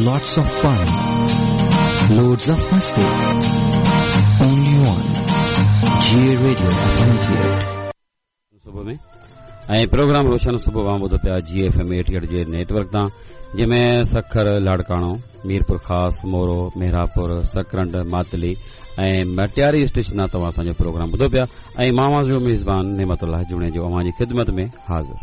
Lots of fun. Loads of masti. Only on J Radio FM 88. صبح ۾ ۽ programme روشن صبح اوهان ٻڌو پيا جي ايف ايم 88 جي نيٽ ورڪ تان جنهن ۾ سکر لاڙڪاڻو ميرپور خاص مورو مهراپور سڪرنڊ ماتلي ۽ مٽياري اسٽيشن تان توهان اسان جو پروگرام ٻڌو پيا ۽ مان اوهان جو ميزبان نعمت الله جوڻيجو اوهان جي خدمت ۾ حاضر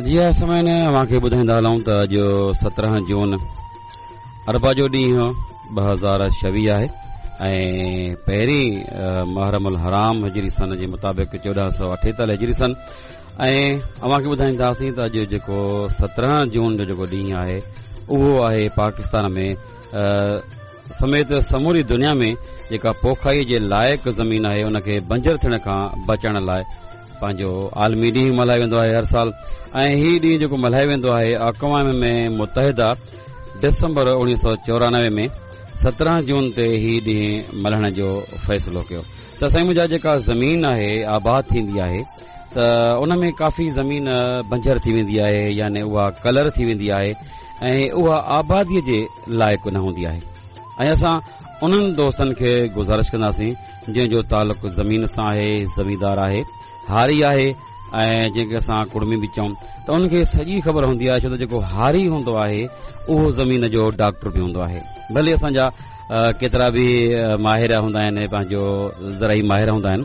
جي ها سامعين اوهان کي ٻڌائيندا هلون ته اڄ 17 جون اربع جو ڏينهن 2026 آهي ۽ پهرين محرم الحرام هجري سن جي مطابق 1448 هجري سن ۽ اوهان کي ٻڌائينداسين ته اڄ جيڪو 17 جون جو جيڪو ڏينهن آهي اهو آهي پاڪستان ۾ سميت سموري دنيا ۾ جيڪا پوکائي جي لائق زمين آهي ان کي بنجر ٿيڻ کان بچائڻ لاء پنهنجو عالمي ڏينهن ملهايو ويندو آهي هر سال ۽ هي ڏينهن جيڪو ملهايو ويندو آهي اقوام ۾ متحده ڊسمبر 1994 ۾ 17 جون تي هي ڏينهن ملهائڻ جو فيصلو ڪيو ته سائين منهنجا جيڪا زمين آهي آباد ٿيندي آهي ته ان ۾ ڪافي زمين بنجر ٿي ويندي آهي يعني اها ڪلر ٿي ويندي آهي ۽ اها آبادي جي لائق نه هوندي آهي ۽ اسان انهن دوستن کي گذارش ڪنداسين جنهن جو تعلق زمين سان آهي، زميندار آهي، هاري آهي ۽ جنهن کي اسان ڪڙمي به چئون ته ان کي سڄي خبر هوندي آهي ڇو ته جيڪو هاري هوندو آهي اهو زمين جو ڊاڪٽر به هوندو آهي ڀلي اسان جا ڪيترا به ماهر هوندا آهن پنهنجو زرعي ماهر هوندا آهن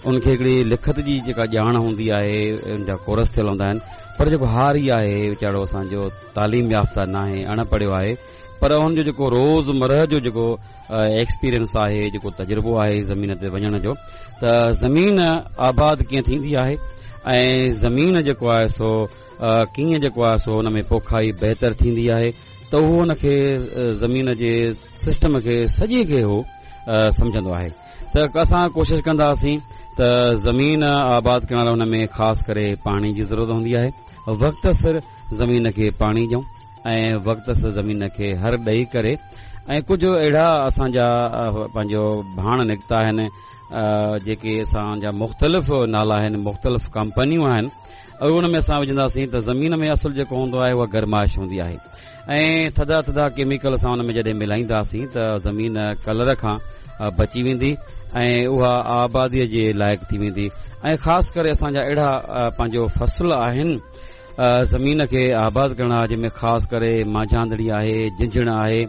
ان کي هڪڙي لکت جي جيڪا ڄاڻ هوندي آهي ان جا ڪورس ٿيل هوندا آهن پر جيڪو هاري آهي ويچارو اسان جو تعليم يافته ناهي اڻ پڙهيو آهي پر ان جو جيڪو روز مرهه جو جيڪو ايڪسپيرينس آهي جيڪو تجربو آهي زمين تي وڃڻ جو ته زمين آباد ڪيئن ٿيندي آهي ۽ زمين جيڪو آهي سو ڪيئن جيڪو آهي سو ان ۾ پوکائي بهتر ٿيندي آهي ته اهو ان کي زمين جي سسٽم کي سڄي کي هو سمجهندو آهي ته اسان ڪوشش ڪنداسين ته زمين آباد ڪرڻ لاء ان ۾ خاص ڪري پاڻي جي ضرورت هوندي آهي وقت سر زمين کي پاڻي ڏيون ۽ وقت سر زمين کي هر ڏئي ڪري ۽ ڪجهه اهڙا اسان جا پنهنجو ڀاڻ نڪتا آهن جيڪي اسان جا مختلف نالا آهن مختلف ڪمپنيون آهن اهي ان ۾ اسان وجهنداسين ته زمين ۾ اصل جيڪو هوندو آهي اها گرمائش هوندي آهي ۽ ٿڌا ٿڌا ڪيميڪل اسان ان ۾ جڏهن ملائينداسين ته زمين ڪلر کان بچي ويندي ۽ اها آبادي جي لائق ٿي ويندي ۽ خاص ڪري اسان جا اهڙا پنهنجو فصل آهن زمين کي آباد ڪرڻ لاء جنهن ۾ خاص ڪري مانجهاندڙي آهي جهنجهڻ آهي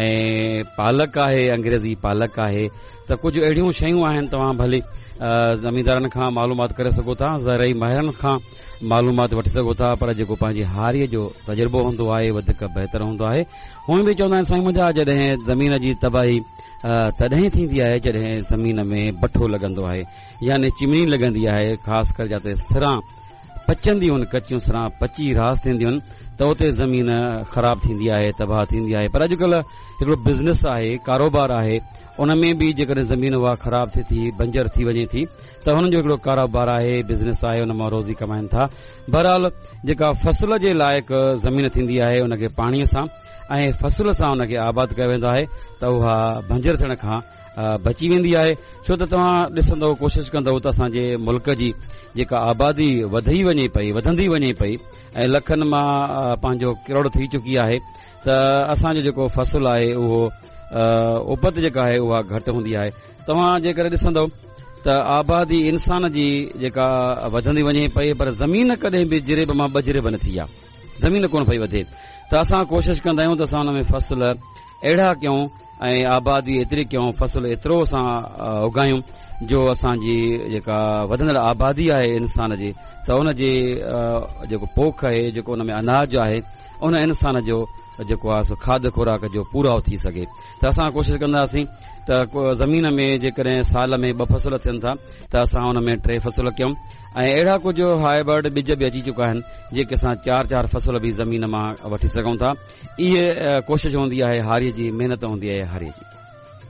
۽ پالڪ آهي انگريزي پالڪ آهي ته ڪجهه اهڙيون شيون آهن توهان ڀلي زميندارن کان معلومات ڪري سگهو ٿا زرعي ماهرن کان معلومات وٺي سگهو ٿا پر جيڪو پنهنجي هاريء جو تجربو هوندو آهي وڌيڪ بهتر هوندو آهي هونئن به چوندا آهن سائين منهنجا جڏهن زمين جي تباهي تڏهن ٿيندي آهي جڏهن زمين ۾ بٺو لڳندو آهي يعني چمني لڳندي آهي خاص ڪري جاتي سران پچنديون آهن ڪچيون سران پچي راس ٿينديون آهن ته اتي زمين خراب ٿيندي آهي تباهه ٿيندي آهي پر اڄڪلهه هڪڙو بزنس آهي ڪاروبار آهي ان ۾ به جيڪڏهن زمين اها خراب ٿئي ٿي بنجر ٿي وڃي ٿي ته هنن جو هڪڙو ڪاروبار آهي بزنس آهي ان مان روزي ڪمائن ٿا بهرحال جيڪا فصل جي لائق زمين ٿيندي آهي ان کي پاڻي سان ۽ فصل سان ان کي آباد ڪيو ويندو آهي ته اها بنجر ٿيڻ کان بچي ويندي آهي ڇو ته توهان ڏسندو ڪوشش ڪندو ته اسان جي ملڪ جي جيڪا آبادي وڌي وڃي پئي وڌندي وڃي پئي ۽ لکن مان پنهنجو ڪروڙ ٿي چڪي آهي ته اسان جو جيڪو فصل آهي اهو اپت جيڪا آهي اها گهٽ هوندي آهي توهان جيڪڏهن ڏسندو ته آبادي انسان جي جيڪا وڌندي وڃي پئي پر زمين ڪڏهن به جريب مان ٻه جريب نه ٿي آهي زمين ڪونه پئي وڌي ته اسان ڪوشش ڪندا آهيون ته اسان ان ۾ فصل اهڙا ڪيون ۽ آبادي ايتري ڪيون فصل ايترو اسان اگايون جو اسان جي جيڪا وڌندڙ آبادي آهي انسان جي ته ان جي جيڪو پوک آهي جيڪو ان ۾ اناج آهي ان انسان جو جيڪو آهي سو کاڌ خوراڪ جو پورائو ٿي سگهي ته اسان ڪوشش ڪنداسين ته زمين ۾ جيڪڏهن سال ۾ ٻه فصل ٿين ٿا ته اسان ان ۾ ٽي فصل ڪيون ۽ اهڙا ڪجهه هائبرڊ ٻج به اچي چڪا آهن جيڪي اسان چار چار فصل به زمين مان وٺي سگهون ٿا اهي ڪوشش هوندي آهي هاري جي محنت هوندي آهي هاري جي.